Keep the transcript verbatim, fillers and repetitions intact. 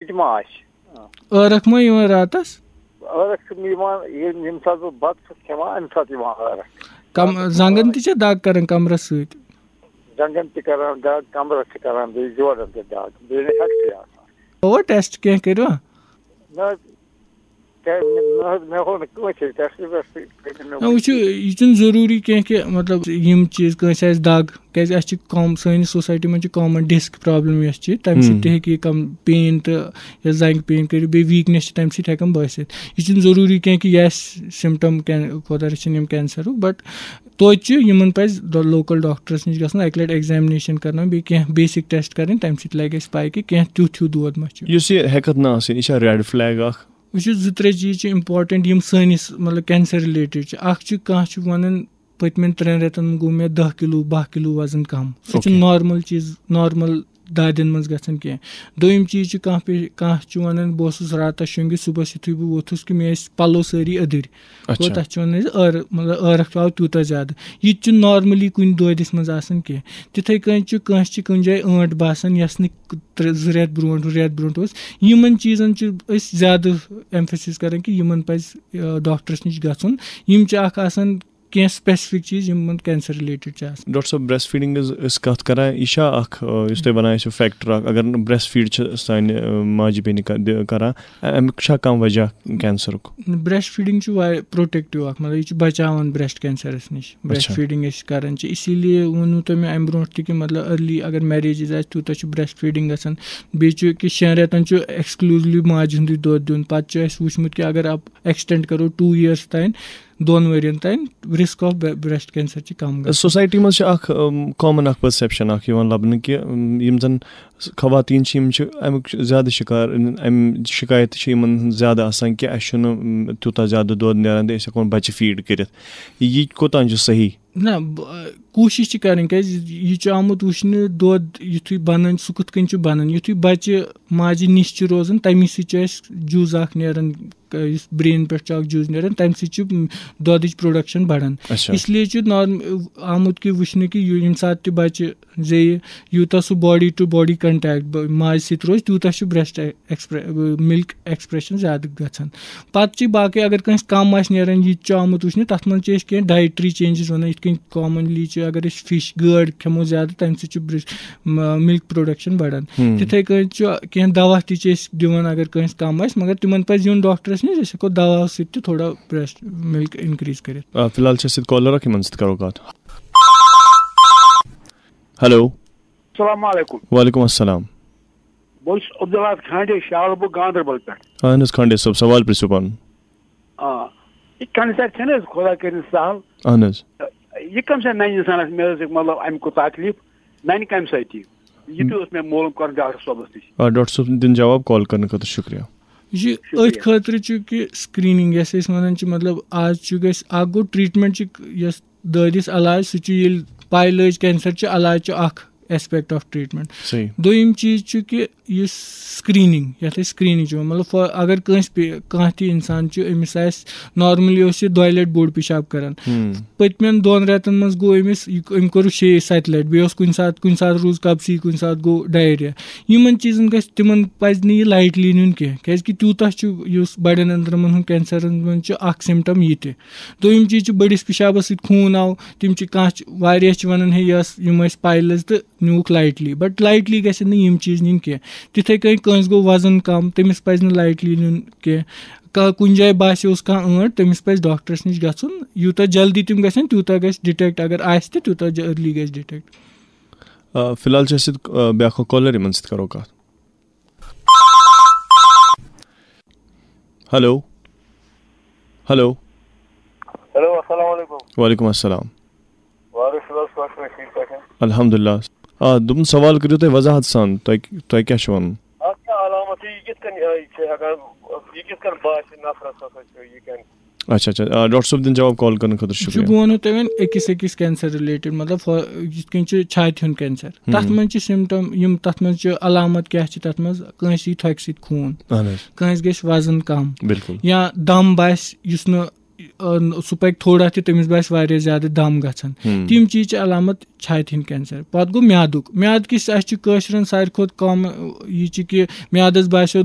یہِ تہِ ما آسہِ؟ ٲرکھ ما یِوان راتس؟ ٲرکھ چھُم یِوان، ییٚمہِ، ییٚمہِ ساتہٕ بہٕ بَتہٕ چھُس کھٮ۪وان، اَمہِ ساتہٕ یِوان ٲرکھ۔ کم-، راتس زنٛگن تہِ چھےٚ دگ کران کمرس سۭتۍ؟ زنٛگن تہِ کران دگ، کمرس تہِ کران، بیٚیہِ جوڑن تہِ دگ، بیٚیہِ نہٕ ہٮ۪کتھٕے آسان۔ گوٚوا ٹیسٹ کینٛہہ کٔرِوا؟ نہ حظ، کیٛازِ مےٚ، نہ حظ، مےٚ ہوو نہٕ کٲنٛسہِ ٹیسٹ ویسٹ کٔرِتھ مےٚ نہ، وٕچھِو، یہِ چھُنہٕ ضروٗری کینٛہہ کہِ، مطلب، یِم چیٖز کٲنٛسہِ آسہِ دگ، کیٛازِ اَسہِ چھِ کام، سٲنِس سوسایٹی منٛز چھِ کامن ڈِسک پرابلم یۄس چھِ، تَمہِ سۭتۍ ہُم۔ تہِ ہیٚکہِ یہِ کم پین تہٕ یا زنٛگہِ پین کٔرِتھ، بیٚیہِ ویٖکنیس چھِ تَمہِ سۭتۍ ہٮ۪کان بٲسِتھ۔ یہِ چھُنہٕ ضروٗری کینٛہہ کہِ یہِ آسہِ سِمٹم کین-، خۄدا رٔچھِنۍ، یِم کینسرُک، but توتہِ چھُ یِمن پزِ دۄ-، لوکل ڈاکٹرس نِش گژھُن، اَکہِ لٹہِ ایگزامنیشن کرناوُن، بیٚیہِ کینٛہہ بیسک ٹیسٹ کرٕنۍ، تَمہِ سۭتۍ لگہِ اَسہِ پاے کہِ کینٛہہ تیُتھ ہیوٗ دود ما چھُ۔ یُس یہِ ہٮ۪کتھ نہ آسٕنۍ، یہِ چھا ریڈ فلیگ اکھ؟ وٕچھِو، زٕ ترٛےٚ چیٖز چھِ امپورٹنٹ، یِم سٲنِس، مطلب، کینسر رِلیٹڈ چھِ۔ اکھ چھُ، کانٛہہ چھُ ونان، پٔتمٮ۪ن ترٛٮ۪ن رٮ۪تن منٛز گوٚو مےٚ دَہ کِلوٗ، باہ کِلوٗ وزن کم۔ سُہ چھُ اوکے۔ نارمل چیٖز، نارمل دادٮ۪ن منٛز گژھان کینٛہہ۔ دوٚیِم چیٖز چھُ، کانٛہہ پے-، کانٛہہ چھُ ونان، بہٕ اوسُس راتس شۄنٛگِتھ، صبحس یُتھُے بہٕ ووتھُس کہِ مےٚ ٲسۍ پلو سٲری أدٕرۍ۔ اچھا۔ گوٚو، تتھ چھِ ونان أسۍ ٲر-، مطلب، ٲرکھ چھُ آو تیوٗتاہ زیادٕ۔ یہِ تہِ چھُ نارملی کُنہِ دٲدِس منٛز آسان کینٛہہ۔ تِتھے کٔنۍ چھُ کٲنٛسہِ چھِ کُنہِ جایہِ ٲنٹ باسان، یۄس نہٕ ترٛےٚ، زٕ رٮ۪تھ برونٛٹھ، رٮ۪تھ برونٛٹھ اوس۔ یِمن چیٖزن چھِ أسۍ زیادٕ ایمفیسس کران کہِ یِمن پزِ، آ، ڈاکٹرس نِش گژھُن۔ یِم چھِ اکھ آسان کینٛہہ سپیسفک چیٖز یِمن کینسر رِلیٹڈ چھِ آسان۔ ڈاکٹر صٲب، بریسٹ فیڈنگ ہٕنٛز أسۍ کتھ کران، یہِ چھا اکھ، آ، یُس تُہۍ ونان ٲسِو فیکٹر اکھ، اگر نہٕ بریسٹ فیڈ چھِ سانہِ، آ، ماجہِ بیٚنہِ ک-، دِ-، کران، اَ-، امیُک چھا کانٛہہ وجہ کینسرُک؟ بریسٹ فیڈنگ چھُ واریاہ پروٹیکٹو اکھ، مطلب، یہِ چھُ بچاوان بریسٹ کینسرس نِش۔ بریسٹ اچھا۔ فیڈنگ أسۍ کران چھِ، اسی لیے ووٚنوُ تۄہہِ مےٚ امہِ برونٛٹھ تہِ کہِ، مطلب، ارلی اگر میریجز آسہِ، تیوٗتاہ چھُ بریسٹ فیڈنگ گژھان۔ بیٚیہِ چھُ کہِ شٮ۪ن رٮ۪تن چھُ ایکسکلوٗزلی ماجہِ ہُنٛدُے دۄد دیُن۔ پتہٕ چھُ اَسہِ وُچھمُت کہِ اگر آپ ایکسٹینڈ کرو ٹوٗ ییرس تام، دۄن ؤرین تام، رسک آف بریسٹ کینسر چھِ کم گژھان۔ سوسایٹی منٛز چھِ اکھ، ام، کامن اکھ پرسپشن اکھ یِوان لبنہٕ کہِ، ام، یِم زن خواتین چھِ، یِم چھِ امیُک زیادٕ شکار، امہِ شکایت چھِ یِمن ہٕنٛز زیادٕ آسان کہِ اسہِ چھُنہٕ، ام، تیوٗتاہ زیادٕ دۄد نیران تہٕ أسۍ ہٮ۪کو نہٕ بچہِ فیڈ کٔرِتھ۔ یہِ کوٚتام چھُ صحیح؟ نہ، ب-، کوٗشِش چھِ کرٕنۍ، کیازِ یہِ چھُ آمُت وٕچھنہٕ دۄد یُتھُے بنان، سُہ کِتھ کٔنۍ چھُ بنان۔ یُتھُے بچہِ ماجہِ نِش چھُ روزان، تمی سۭتۍ چھُ اَسہِ جوٗز اکھ نیران، ک-، یُس برین پٮ۪ٹھ چھُ اکھ جوٗز نیران، تمہِ سۭتۍ چھُ، م، دۄدٕچ پروڈکشن بڑان۔ اچھا۔ اس لیے چھُ نارم-، آمُت کہِ وٕچھنہٕ کہِ یہِ، ییٚمہِ ساتہٕ تہِ بچہِ زیٚیہِ، یوٗتاہ سُہ باڈی ٹُو باڈی کنٹیکٹ ب-، ماجہِ سۭتۍ روزِ، تیوٗتاہ چھُ بریسٹ ایکسپرے-، ملک ایکسپریشن زیادٕ گژھان۔ پتہٕ چھِ باقٕے، اگر کٲنٛسہِ کم آسہِ نیران، یہِ تہِ چھُ آمُت وٕچھنہٕ، تتھ منٛز چھِ أسۍ کینٛہہ ڈایٹری چینجز ونان، یِتھ کٔنۍ کامنلی چھِ، اگر أسۍ فش، گٲڈ کھٮ۪مو زیادٕ، تمہِ سۭتۍ چھُ برس-، م-، ملک پروڈکشن بڑان۔ ہم۔ تِتھے کٔنۍ چھُ کینٛہہ دوا تہِ چھِ أسۍ دِوان، اگر کٲنٛسہِ کم آسہِ، مگر تِمن پزِ یُن ڈاکٹرس نِش، أسۍ ہٮ۪کو دوا سۭتۍ تہِ تھوڑا بریسٹ ملک انکریز کٔرِتھ۔ آ، فی الحال چھِ اَسہِ سۭتۍ کالر اکھ، یِمن سۭتۍ کرو کتھ۔ ہیلو۔ السلام علیکم۔ وعلیکم السلام۔ بہٕ چھُس عبدالحق کھانڈے، شالہٕ بوٚگ، گاندربل پٮ۪ٹھ۔ اہن حظ، کھانڈے صٲب، سوال پرٛژھِو پنُن۔ آ، یہِ کینسر چھَنہٕ حظ خۄدا کٔرِنۍ سہل؟ اہن حظ۔ یہِ کَم چھا نَنہِ اِنسانَس، مےٚ حظ ہیٚکہِ، مطلب، اَمہِ کُن تکلیٖف نَنہِ کَمہِ سۭتۍ یہِ؟ یہِ تہِ اوس مےٚ معلوٗم کَرُن ڈاکٹر صٲبَس نِش۔ آ، ڈاکٹر صٲب، دِنہٕ جواب، کال کرنہٕ خٲطرٕ شُکریہ۔ یہِ شُکریہ۔ أتھۍ خٲطرٕ چھُ کہِ screening، یۄس أسۍ وَنان چھِ، مطلب، آز چھُ گژھِ اَکھ گوٚو ٹرٛیٖٹمٮ۪نٛٹ چھِ یۄس دٲدِس علاج، سُہ چھُ ییٚلہِ پَے لٔج کینسر چھُ، علاج چھُ اکھ aspect of treatment۔ صحیح۔ دوٚیِم چیٖز چھُ کہِ یُس screening، یَتھ أسۍ screening چھِ وَنان، مطلب، فا-، اگر کٲنٛسہِ پے-، کانٛہہ تہِ اِنسان چھُ، أمِس آسہِ normally اوس یہِ دۄیہِ لَٹہِ بوٚڑ پِشاب کَران۔ ہُم۔ پٔتمٮ۪ن دۄن رٮ۪تَن منٛز گوٚو أمِس، یہِ، أمۍ کوٚر شیٚیہِ سَتہِ لَٹہِ، بیٚیہِ اوس کُنہِ ساتہٕ، کُنہِ ساتہٕ روٗز کَپسی، کُنہِ ساتہٕ گوٚو diarrhea۔ یِمَن چیٖزَن گژھِ، تِمَن پَزِ نہٕ یہِ lightly نیُن کینٛہہ، کیٛازِکہِ تیوٗتاہ چھُ، یُس بَڑٮ۪ن أنٛدرَمَن ہُنٛد کینسرَن منٛز چھُ اَکھ symptom یہِ تہِ۔ دوٚیِم چیٖز چھُ بٔڑِس پِشابَس سۭتۍ خوٗن آو، تِم چھِ کانٛہہ چھِ، واریاہ چھِ وَنان، ہے، یہِ ٲس، یِم ٲسۍ piles تہٕ نیوٗکھ lightly، but lightly گژھن نہٕ یِم چیٖز نِنۍ کینٛہہ۔ تِتھَے کٔنۍ کٲنٛسہِ گوٚو وزن کم، تٔمِس پَزِ نہٕ lightly نیُن کینٛہہ۔ کا-، کُنہِ جایہِ باسیوس کانٛہہ ٲنٹ، تٔمِس پَزِ ڈاکٹرَس نِش گژھُن۔ یوٗتاہ جلدی تِم گژھن، تیوٗتاہ گژھِ detect، اگر آسہِ تہِ، تیوٗتاہ ج-، early گژھِ detect۔ آ، فی الحال چھِ اَسہِ سۭتۍ، آ، بیٛاکھ اَکھ caller، یِمَن سۭتۍ کَرو کَتھ۔ ہیلو۔ ہیلو۔ ہیلو، السلام علیکم۔ وعلیکم السلام۔ وارث صٲب، چھِو حظ ٹھیٖک پٲٹھۍ؟ الحمدللہ۔ آ، دوٚپُن، سوال کٔرِو تُہۍ وضاحت سان، تۄہہِ، تۄہہِ کیٛاہ چھُ وَنُن؟ اَتھ کیٛاہ علامت چھِ؟ یہِ کِتھ کٔنۍ، یہِ چھِ ہٮ۪کان، یہِ کِتھ کٔنۍ باسہِ نفرَس ہسا چھُ یہِ کینسر؟ اچھا، اچھا۔ آ، ڈاکٹر صٲب، دِنہٕ جواب، کال کرنہٕ خٲطرٕ چھُ، شُکریہ۔ بہٕ وَنو تۄہہِ وۄنۍ أکِس أکِس کینسر related، مطلب، فا-، یِتھ کٔنۍ چھُ چھاتہِ ہُنٛد کینسر، ہُم۔ تَتھ منٛز چھِ symptom یِم، تَتھ منٛز چھِ علامت کیٛاہ چھِ تَتھ منٛز؟ کٲنٛسہِ یی تھۄکہِ سۭتۍ خوٗن، اہن حظ۔ کٲنٛسہِ گژھِ وزن کم، بِلکُل۔ یا دم باسہِ یُس نہٕ سُہ پَکہِ تھوڑا تہِ، تٔمِس باسہِ واریاہ زیادٕ دَم گژھان۔ تِم چیٖز چھِ علامت چھاتہِ ہِنٛدۍ کینسر۔ پَتہٕ گوٚو میادُک۔ میادٕ کِس اَسہِ چھِ کٲشرٮ۪ن ساروی کھۄتہٕ کَم، یہِ چھِ کہِ میادَس باسیو